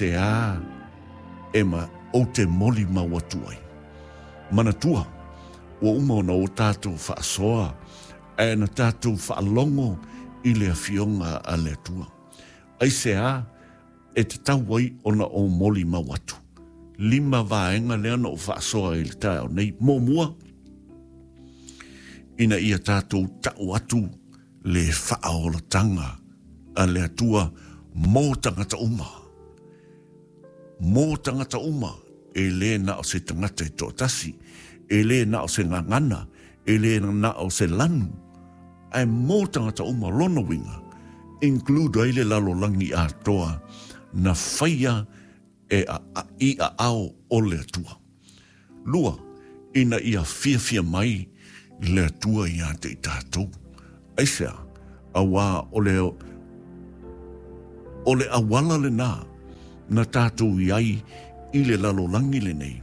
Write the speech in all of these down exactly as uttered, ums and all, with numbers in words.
Aisea e ma ou te molimau atu ai? Manatua, ua uma ona o tatou faasoa ae na tatou faalogo i le Afioga a le Atua. Aisea e tatau ai ona ou molimau atu? Lima vaega lea na ou faasoa i le taeao nei. Muamua, ina ia tatou tau atu le faaolataga a le Atua mo tagata uma. Mo tagata uma, e le na o se tagata e toatasi, e le na o se gagana, e le na o se lanu, ae mo tagata uma. Lona uiga, include ai le lalolagi atoa na faia e a, a, i aao o le Atua. Lua, ina ia fiafia mai le Atua ia te i tatou. Aisea? Auā o le, o le auala lenā na tatou i ai i le lalolagi lenei,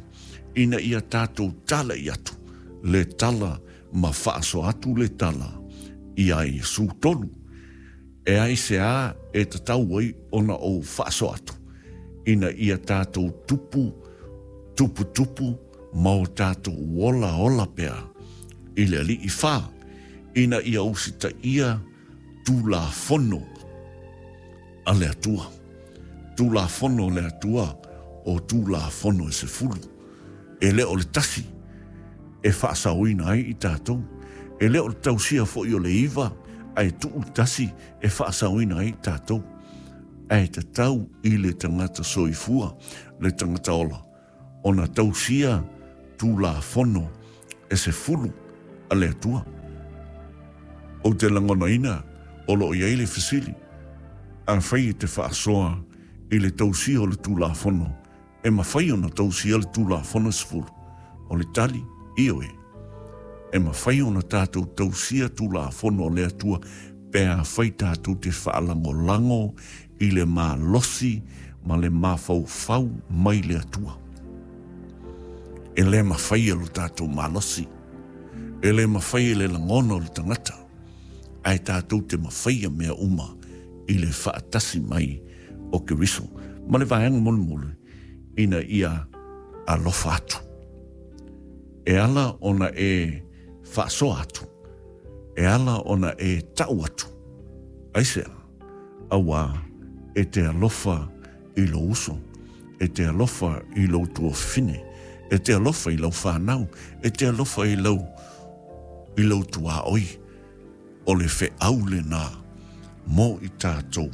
ina ia tatou talai atu le tala ma faasoa atu le tala iā Iesu. Tolu, e aisea e tatau ai ona ou faasoa atu? Ina ia tatou tupu, tuputupu ma o tatou ola ola pea i le Alii. Fa, ina ia usitaia Tulafono a le Atua. Tulafono a le Atua o Tulafono e sefulu. E le o le tasi e faasaoina ai i tatou. E le o le tausia foi o le iva ae tuu le tasi e faasaoina ai i tatou. Ae tatau i le tagata soifua, le tagata ola, ona tausia Tulafono e sefulu a le Atua. Ou te lagonaina o lo o i ai le fesili, afai e te faasoa i le tausia o le Tulafono, e mafai ona tausia le Tulafono e sefulu? O le tali, ioe. E mafai ona tatou tausia Tulafono a le Atua pe afai tatou te faalagolago i le malosi ma le mafaufau mai le Atua. E le mafai e lo tatou malosi, e le mafai e le lagona o le tagata, ae tatou te mafaia mea uma i le faatasi mai o Keriso. Ma le vaega mulimuli, ina ia alofa atu. E ala ona e faasoa atu, e ala ona e tau atu. Aisea? Auā e te alofa i lou uso, e te alofa i lou tuafafine, e te alofa i lau fanau, e te alofa i lau, i lou tuaoi. O le feau lenā mo i tatou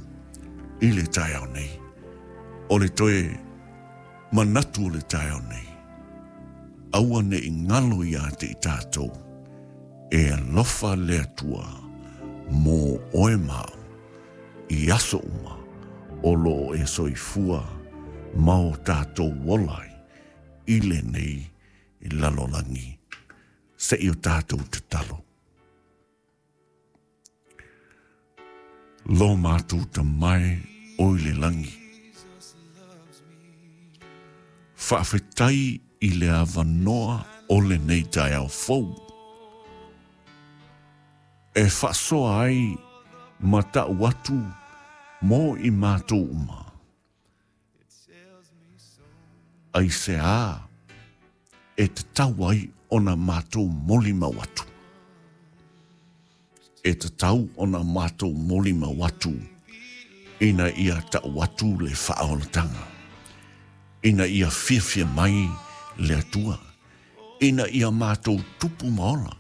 i le taeao nei. O le toe manatu o le taeao nei, aua ne i galo ia te i tatou, e alofa le Atua mo oe ma au i aso uma o lo o e soifua ma o tatou ola ai i lenei lalolagi. Se i o tatou tatalo. Lo matou Tama e o i le lagi, faafetai i le avanoa o lenei taeao fou e faasoa ai ma tau atu mo i matou uma. Aisea e tatau ai ona matou molimau atu? E tatau ona matou molimau atu ina ia tau atu le faaolataga, ina ia fiafia mai le Atua, ina ia matou tupu ma ola,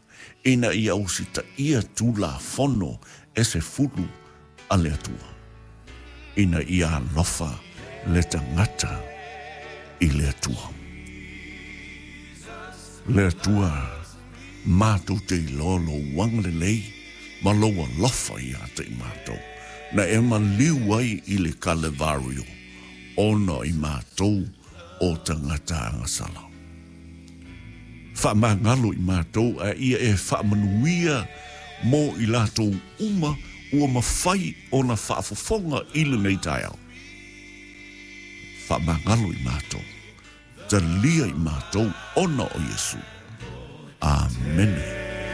ina ia usitaia Tulafono e sefulu a le Atua, ina ia alofa le tagata i le Atua. Le Atua, matou te iloa lou agalelei ma lou alofa ia te i matou, na e maliu ai i le Kalevario, ona i matou o tagata agasala. Faamagalo i matou a ia e faamanuia mo i latou uma ua mafai ona faafofoga i lenei taeao. Faamagalo i matou, talia i matou ona o Iesu. Amene.